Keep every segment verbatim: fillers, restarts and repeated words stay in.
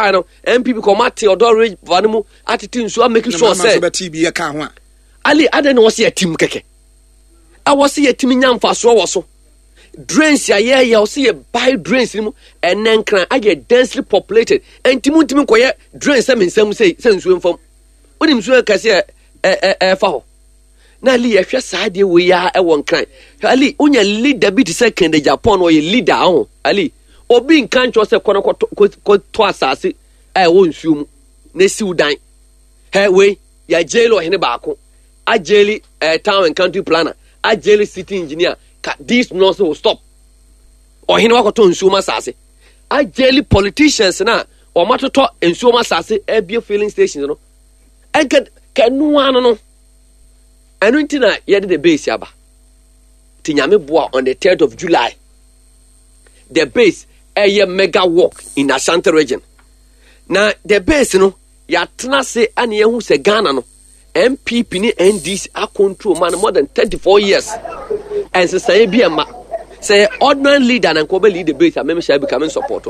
baeɛ no, N P P kɔ ɔmo ate Ɔdɔ River no mu, atete nsuo, amake sure sɛ bɛte bi yɛ ka ho a. Ali, adɛn na wɔsɛ yɛtim kɛkɛ a wɔsɛ yɛtumi nya mfasoɔ wɔ so? Drains a yɛyɛ, wɔsɛ yɛ buy drains no mu. Ɛnɛ Nkran ayɛ densely populated, ɛnti mu ntumi nkɔyɛ drains sɛ me nsɛm sɛ sɛ nsuo mfam. Wonim nsuo kɛseɛ ɛ ɛ ɛfa hɔ na Ali, yɛhwɛ saa adeɛ wei a ɛwɔ Nkran. Ali, wonya leader bi te sɛ Kennedy Agyapong, ɔyɛ leader aho. Ali, obi nka nkyɛw sɛ kɔ no kɔtɔ kɔtɔ asase a ɛwɔ nsuo mu na esiw dan hɛ. Wei yɛajail ɔhene baako, ajail uh, town and country planner, ajail city engineer. Ka this nonsense will stop. Ɔhene wakɔtɔ nsuo mu asase, ajail politicians na wɔn atotɔ nsuo mu asase abie filling stations no. Ɛnka kɛnoa no no ɛno nti na yɛde The Base aba. Ti Nyame boa, on the third of July, The Base ɛyɛ mega walk in Ashanti Region. Na The Base no, yɛatena ase ane yɛhu sɛ Ghana no, N P P ne N D C acontrol ma no more than thirty-four years, ɛnsesaeɛ bi ɛma sɛ yɛ ordinary leader na nka ɔbɛ lead The Base a, mɛmɛ bi ka support,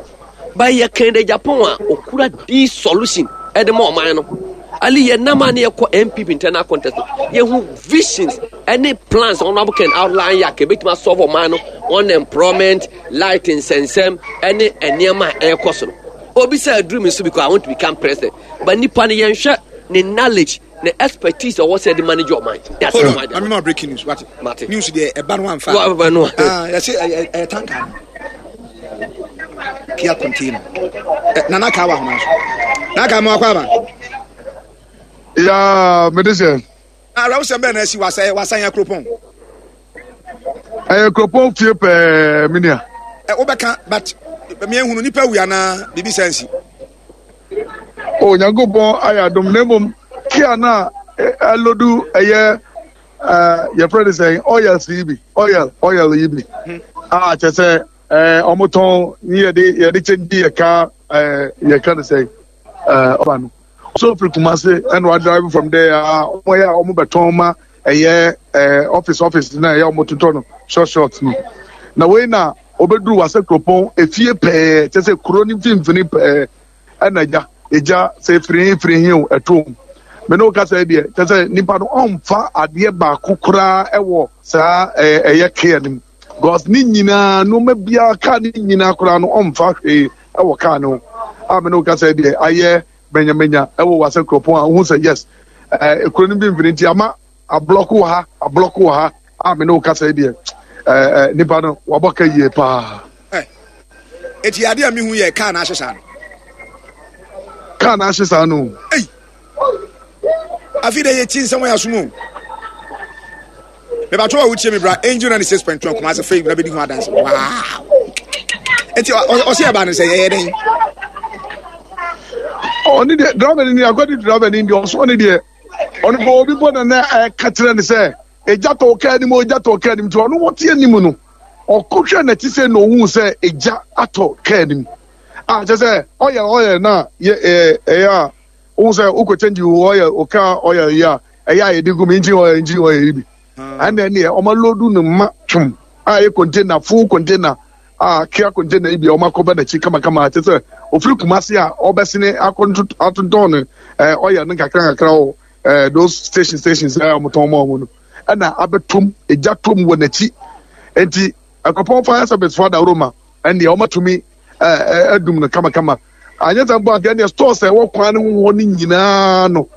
but yɛ Kennedy Agyapong a okura this solution ɛde ma ɔman no. Ali, yɛ nam a ne yɛkɔ N P P internal contest no, yɛhu visions ɛne plans Honourable Ken outline yɛ a kɛbɛtumi asolve ɔman no unemployment, light nsɛnsɛm ɛne nneɛma a ɛrekɔ so no. Obi sɛ aduru mi so because I want to become president, but nipa no, yɛnhwɛ ne knowledge, ne expertise a ɔwɔ sɛ ɛde manage ɔman. Hold on, mame ma breaking news, wate? Mate. News deɛ, ɛba no amfa. Wa- ba no. Ah, yɛsɛ ɛyɛ ɛyɛ tanker no, Kia container. Ɛ, Nana kaa wɔ ahoma so. Nana kaa, ma wakɔ aba. Ya, mede sɛ awerɛwosɛm bɛɛ na asi wasa wasan yɛ kuropɔn. Ɛyɛ kuropɔn fie pɛɛ, me nua. Ɛ, wobɛka, but meɛhunu nipa wu anaa biribi sɛ nsi. O, Nyankopɔn ayɛ adom, na mmom Kia no a ɛ- ɛload ɛyɛ ɛɛ, yɛfrɛ no sɛn, oils yi bi, oil oil yi bi a kyerɛ sɛ ɛɛ ɔmotɔn ne yɛde yɛde kyɛngye yɛ kaa, ɛɛ yɛka no sɛn, ɛɛ ɔba no so firi Kumase ɛna wa drive from there a, ɔmo yɛ a ɔmo bɛtɔn ma ɛyɛ ɛɛ office office na ɛyɛ ɔmo totɔ no short short no. Na wei na obɛduru Wasa kuropɔn efie pɛɛ, kyerɛ sɛ kuro ne mfimfini pɛɛ, ɛna gya egya sɛ efiri he efiri he o, ɛto mu. Mɛ ne o kasa yi deɛ, kyerɛ sɛ nipa no ɔnfa adeɛ baako koraa ɛwɔ saa ɛɛ ɛyɛ Kia no mu, because ne nyinaa, nneɛma biara, kaa ne nyinaa koraa no, ɔnfa hwee ɛwɔ kaa no ho. A mɛ ne o kasa yi deɛ, ayɛ mɛnyamɛnya ɛwɔ Wasa kuropɔn a ohun sɛ yes, ɛɛ ekuro no mfimfini nti ama ablock wɔ ha, ablock wɔ ha. A mɛ ne o kasa yi deɛ, ɛɛ ɛɛ nipa no wabɔ ka yie paa. Ɛ, eti adeɛ a mehu yɛ kaa na ahye saa no. Kaa na ahye saa no. Ei, afei dɛ yɛti nsɛm wɔ yɛ asom o. Mebatɔ a wotie me, bra Angel ninety-six point two Kumase fei na bɛdi ho adanse. Wow, eti ɔsɛ yɛba no sɛ yɛyɛ dɛn? Ɔne deɛ, driver ni, akɔdi driver ni deɛ, ɔso ɔne deɛ, ɔno bɔ obi bɔ na na ɛka kyerɛ ne sɛ egya tɔ kaa anim, egya tɔ kaa anim, nti ɔno wɔte anim no, ɔkɔhwɛ n'akyi sɛ na ohun sɛ egya atɔ kaa anim a kyerɛ sɛ ɔyɛ ɔyɛ na yɛ ɛɛ ɛyɛ a ohun sɛ okɔ change ɔyɛ ɔkaa ɔyɛ yi a ɛyɛ a yɛde gu mu, engine oil engine oil yi bi, ɛna ɛneɛ ɔma load no ma twom a ɛyɛ container, full container a Kia container yi bi a ɔma akɔba n'akyi kamakama, kyerɛ sɛ ofiri Kumase a ɔbɛsene akɔ atontɔn no ɛɛ ɔyɛ no nkakra nkakra wɔ ɛɛ those station stations a wɔtɔn ma wɔn no, ɛna abɛtom egya tom wɔ n'akyi. Nti Akropɔn Fire Service fo adaworo ɛnneɛ ɔmatumi ɛɛ ɛdum no kamakama. Anyɛ sɛ mpo anka ɛnneɛ stores a ɛwɔ kwan no ho hɔ no nyinaa no,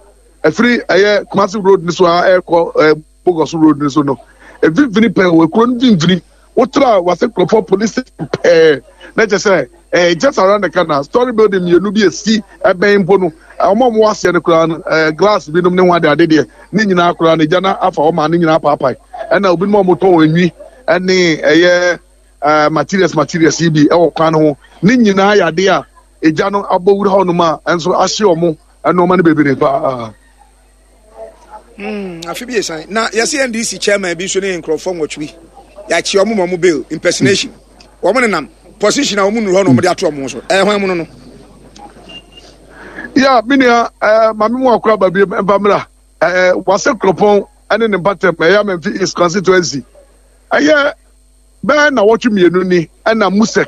ɛfiri ɛyɛ Kumasi road no so a ɛrekɔ ɛɛ Bogoso road no so no, mfimfini pɛɛ wɔ ekuro no mfimfini, wotra Wase Kuropɔn police station pɛɛ na kyerɛ sɛ ɛɛ just around the corner, story building mmienu bi esi ɛbɛn mpo no, wɔn a wɔwɔ aseɛ no koraa no, ɛɛ glass binom ne ho ade ade deɛ ne nyinaa koraa no, egya na afa wɔn a ne nyinaa paapae. Ɛna obinom a wɔtɔn enwi ɛne ɛyɛ ɛɛ materials materials yi bi ɛwɔ kwan no ho ne nyinaa yɛ ade a egya no abɔ wura hɔnom a ɛnso ahye wɔn nneɛma no bebree paa. Hmm, afe bi esan na yɛsɛ N D C chairman bi nso ne nkurɔfoɔ nwɔtwe bi, yɛakye ɔmo ma ɔmo bail, impersonation. Wɔn nenam position a wɔn nuru hɔ na wɔn de ato ɔmo so. Ɛyɛ hɔn mu no no. Ya, me nua, ɛɛ maame mu akora ba bi mfa mmra ɛɛ Wase Kuropɔn ɛne ne mpatɛm, ɛyɛ Amenfi East constituency. Ɛyɛ bɛɛ na wɔtwe mmienu ni ɛna MUSEC,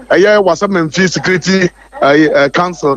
ɛyɛ Wasa Amenfi Security ɛɛ council no.